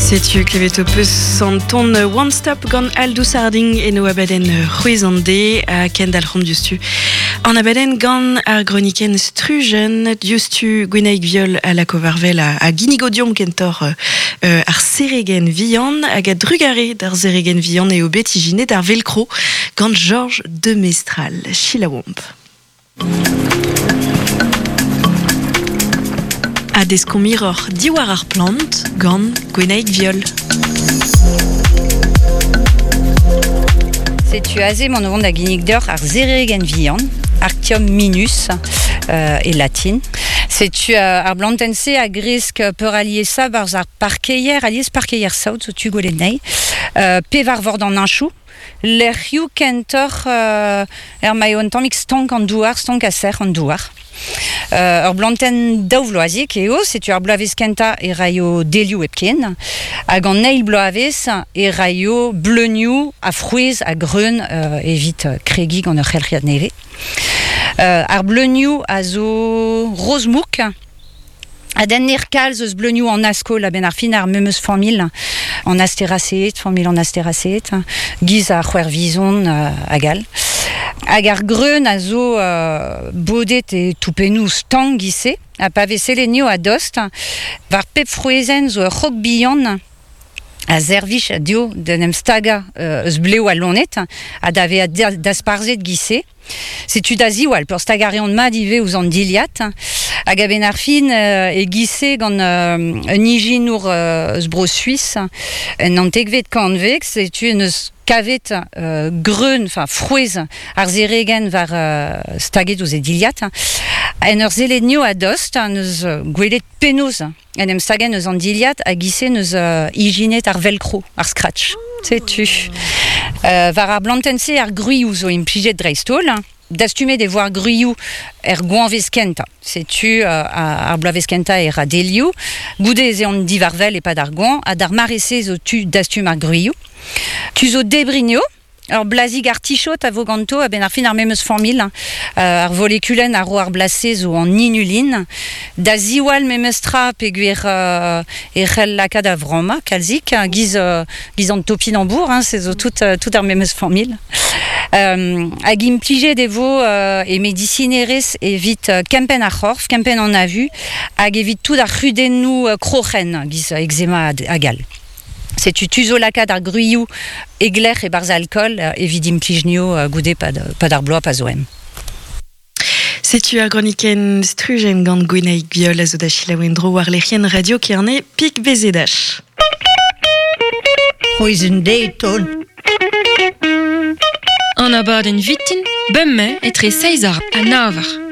Setu klevet ho peus an ton One Stop gant Aldous Harding eno abadenn c'hwezh an de ha kendalc'homp diouzhtu. An abadenn gant ar gronikenn Strujen diouzhtu Gwenaig Viol a lako war-wel a ginnigo deomp kentoc'h ar seregenn vihan hag a drugare d'ar seregenn vihan eo bet ijinet ar velcro gant Georges de Mestral. Selaouomp. Ha deskomp hiroc'h diwar ar plant gant Gwenaig Viol. Setu aze emaon o vont da ginnig deoc'h ar seregenn vihan, Arctium minus e latin. Setu ar blantenn-se a gresk peuraliesañ 'barzh ar parkeier, alies parkeier saout zo tu gwelet anezhi, pe war vord an heñchoù. Lec'hioù kentoc'h er ma eo un tammig stank an douar, stank ha sec'h an douar. Ur blantenn daouvloaziek eo, setu ar bloavezh kentañ e raio delioù hepken, hag an eil bloavezh e raio bleunioù ha frouezh ha greun evit kregiñ gant ur c'helc'hiad nevez. Ar bleunioù a zo roz-mouk. A denner kalz eus bleunioù an askol a-benn ar fin ar memes familh, an Asteraceae, familh an Asteraceae, giz ar c'hwervizon hag all. Hag ar greun a zo bodet e toupennoù stank giz-se, ha pa vez sellet a-dost, war pep frouezhenn zo ur c'hog bihan a servij dezho d'en em stagañ eus blev al loened ha da vezañ dasparzhet giz-se. Setu da ziwall, peurstagañ a reont mat ivez ouzh an dilhad. Hag a-benn ar fin e-giz-se gant un ijinour eus Bro-Suis en naontekvet kantved, setu en deus kavet greun, enfin frouezh ar seregenn war staget ouzh e dilhad. En ur sellet anezho a-dost, en deus gwelet penaos en em stagenn eus an dilhad hag ise 'neus ijinet ar velcro, ar scratch. Setu. War ar blantenn-se ar gwrioù zo implijet dreist-holl. Dastumet e vo ar gwrioù er goañvezh kentañ. Setu ar bloavezh kentañ e ra delioù. Goude ez eont diwar-wel e-pad ar goañv ha d'ar mare-se zo tu dastum ar gwrioù. Tu zo debriñ eo. Ur blazig artichaut a vo ganto a-benn ar fin ar memes familh. Ar volekulenn a ro ar blaz-se zo an inulin. Da ziwall memes tra peogwir e c'hell lakaat a-vremañ kalzik, giz, giz an topinambour, hein, se zo tout, tout ar memes familh. Hag implijet e vo e medisinerezh evit kempenn ar c'horf, kempenn an avu, hag evit tout ar c'hudennoù kroc'hen, giz eczema hag all. Setu tu zo lakaat ar gwrioù e-glec'h e-barzh alkool evit implij nio goude pad, pad ar bloaz pa zo em. Setu ar gronikenn strujenn gant Gwenaig Biol a zo da selaou en-dro war lec'hienn Radio Kerne Pik BZH. C'hwezh deiz taol. An abadenn vitin, bemdez etre seizh ha nav eur.